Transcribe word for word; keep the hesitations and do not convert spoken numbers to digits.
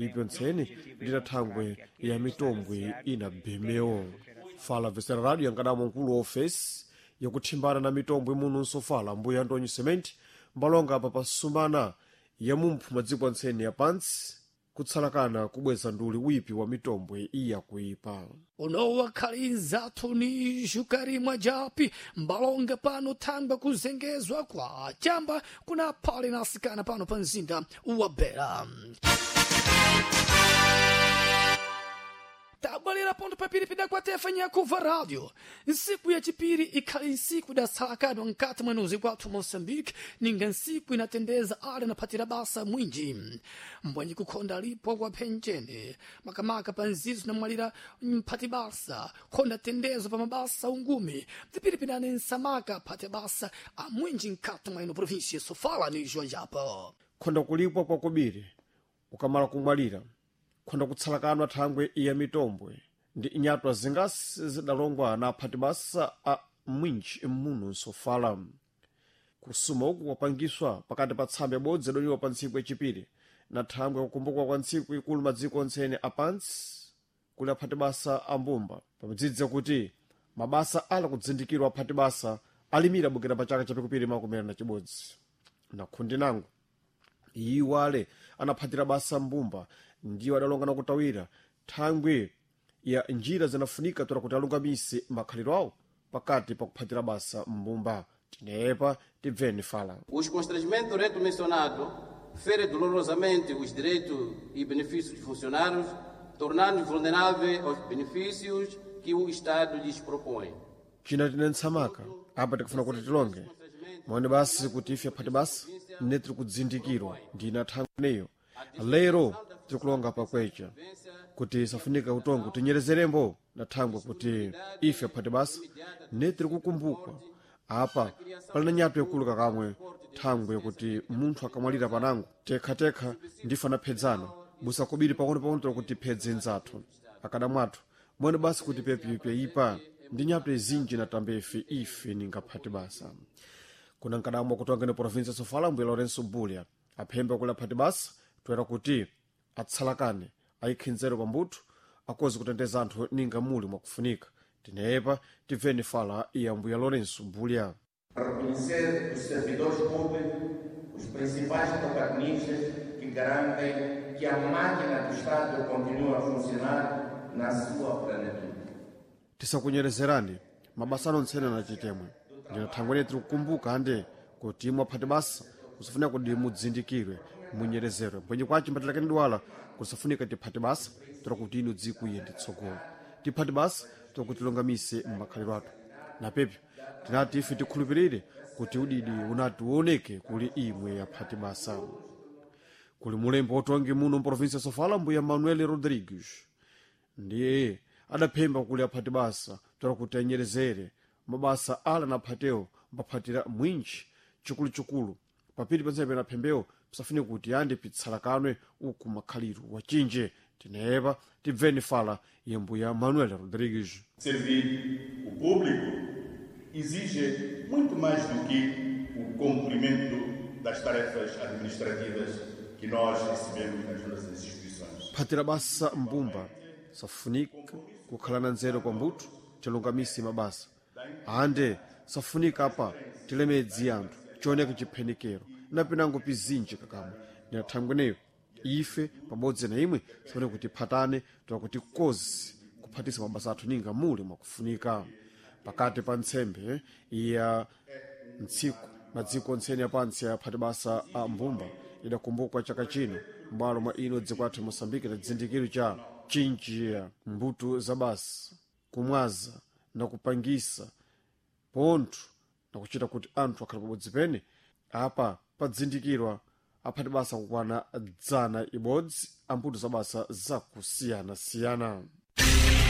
Ipyontseni ndi thangwe ya mitombwe inabemewo. Fala Vesera Radio yankadamo mkulu wa ofesi yakuthimbana na mitombwe muno nsofala mbuya Antonio Cement mbalonga apa pasumana ya mumphu madziko antseni ya pansi kutsalakana kubweza nduli wipi wa mitombwe iyakuipa. Unowa khali ni xukarimwa japi mbalonga pano thangwa kuzengezwa kwa chamba kuna phale na asikana pano pa mzinda wa Bera. Tabwalira ponto papiri pidakwatefa nyakuva rádio. Nsiku ya chipiri ikhali nsiku idatsalakadwa nkati mwenuzi kwathu Moçambique, ninga nsiku inatendeza ale naphatira basa mwinji mbwanyi kukhonda lipo kwa phenjene makamaka pa nzizo namwalira mphati basa khonda tendezo pa mabasa ungumi pipiripinane nsamaka phati basa amwinji nkati mweno província Sofala ni Joanjapa. Khonda kulipwa kwakubiri ukamala kumwalira khonda kutsalakanwa thangwe iya mitombwe ndi inyatwa zingasi zidalongwa na aphati basa a mwinji muno nsofala. Kusuma uku kwapangiswa pakati pa tsambe ibodzi idoliwa pa ntsiku yachipiri na thangwe kukumbukwa kwa ntsiku ikulu madziko ontsene apansi kuli aphati basa a mbumba pamadzidzi kuti mabasa ala kudzindikirwa aphati basa alimira bukira pa chaka chapikupiri makumi na chibodzi na khundi nango iwo ale anaphatira basa mbumba ndiwo adalonga na kutawira thangwe ya njira zinafunika tola kuti alungamise makhaliro awo pakati pa kuphatira basa mbumba. Tinepa tibveni fala. Os constrangimentos reto mencionado fere dolorosamente os direitos e benefícios dos funcionários, tornando-os vulneráveis aos benefícios que o Estado lhes propõe. China tine ntsamaka apa tikufuna kuti tilonge mwaone basi kuti ife aphati basa ne tiri kudzindikirwa ndina thangweneyo lero tirikulonga pakwecha kuti safunika utongo tinyerezerembo na thangwe kuti ife aphati basa ne tiri kukumbukwa apa pali na nyato yakulu kakamwe thangwe kuti munthu akamwalira panango tekhatekha ndife anaphedzana busa kubiri pang'ono-pang'ono tiri kuti phedze nzathu akadamwathu mwene basi kuti pepipyaipa ndi nyato izinji na tambefe ife ningaphati basa. Kuna nkadamwa kutongeni provinsia Sofala mbuya Lourenço Bulha aphemba kuli aphati basa toera kuti atsalakane ayikhe nzeru pambuthu akozi kutendeza anthu ninga muli mwakufunika. Tinepa tibveni fala ya mbuya Lourenço Bulha. Reconhecer os servidores públicos, os principais protagonistas que garantem que a máquina do Estado continue a funcionar na sua plenitude. Tisakunyerezerani mabasa anontsene na chitemwe ndina thangwene tiri kukumbuka ande kuti imwe aphati basa kusafunika kuti mudzindikirwe munyerezerwe mbwenye kwaci mbatilakeni dwala kusafunika tiphati basa tora kuti inu dzikuiye nditsogolo tiphati basa tora kuti tilongamise mmakhaliro athu na pepyo tinati ife tikhulupirire kuti udidi unati uoneke kuli imwe aphati basa. Kuli mulembo otongi muno mprovinsia Sofala mbuya Manuel Rodrigues ndiye adaphemba kuli aphati basa tora kuti anyerezere mabasa ala na aphatewo mbaphatira mwinji chikuluchikulu papiri pansepe na phembewo pisafune kuti ande pitsalakanwe uku makhaliro wachinje. Tinepa tibveni fala ya mbuya Manuel Rodrigues. Servir o público exige muito mais do que o cumprimento das tarefas administrativas que nós recebemos nas nossas instituições. Phatira basa mbumba safunika kukhala na nzeru pambuthu tilungamise mabasa ande safunika apa tilemedzi anthu chioneke chiphenikero napinango pizinji kakamwe ndinathangweneyo ife pabodzi na imwe sifune kuti phatane tola kuti kozi kuphatisa mabasa athu ninga muli mwakufunika pakati pa ntsembe ya ntsiku madziko ontseni apantsi aphati basa a mbumba idakumbukwa chaka chino m'bwalo mwa ino dziko athu Moçambique na chizindikiro cha chinjiya mbuto za basa kumwaza na kupangisa pontho na kuchita kuti anthu akhale pabodzi pene apa padzindikirwa aphati basa kukwana dzana ibodzi ambuto za basa zakusiyanasiyana.